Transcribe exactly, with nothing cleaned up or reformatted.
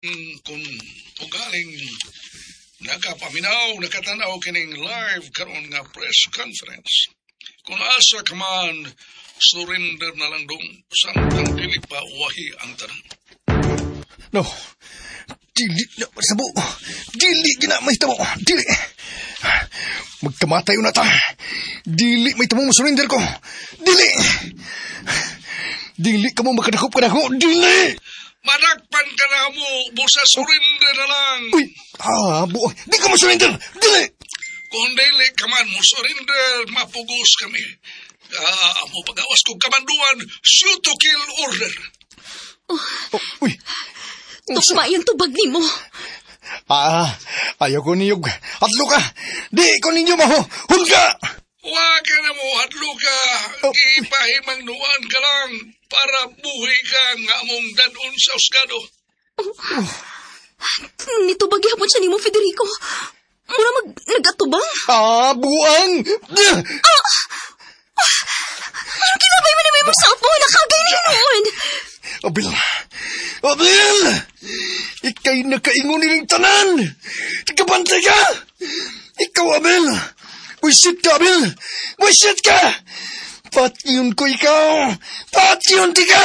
Kung ugaling nakapaminaw, nakatanaw kining live karon nga press conference. Kung asa ka man, surrender na lang dong samtang dili pa uwahi ang tanan. No. Dili na masabo. Dili gina mahitabo. Dili. Magkamatay na ta. Dili mahitabo mo surrender ko. Dili. Dili ka mo makadakop ka na ko. Dili. Madakpan ka na mo, busa surrender na lang. Uy, ah, bu Di ka mo surrender. Dili. Kung dili ka man mo surrender, mapugos kami. Ah, mo pagawas kong kamanduan, shoot to kill order. Oh, uy. Tukma yung tubag nimo. Ah, ayaw ko niyog. Atlo ka. Di ko ninyo maho. Hulga! Wa ka na mo, hadlo ka. Oh. Gipahimangnuan ka lang para buhi ka nga among dadon sa husgado. Nitubag gihapon siya nimo, Federico. Mura mag nagatubang. Ah, buang! Ano kinabay mo na may mong cellphone? Nakagay na noon. Abil! Abil! Ika'y nakaingon niling tanan! Kabantay ka! Ikaw, Abel! Wisit ka, Abel! Wisit ka! Patyon ko ikaw! Patyon ti ka!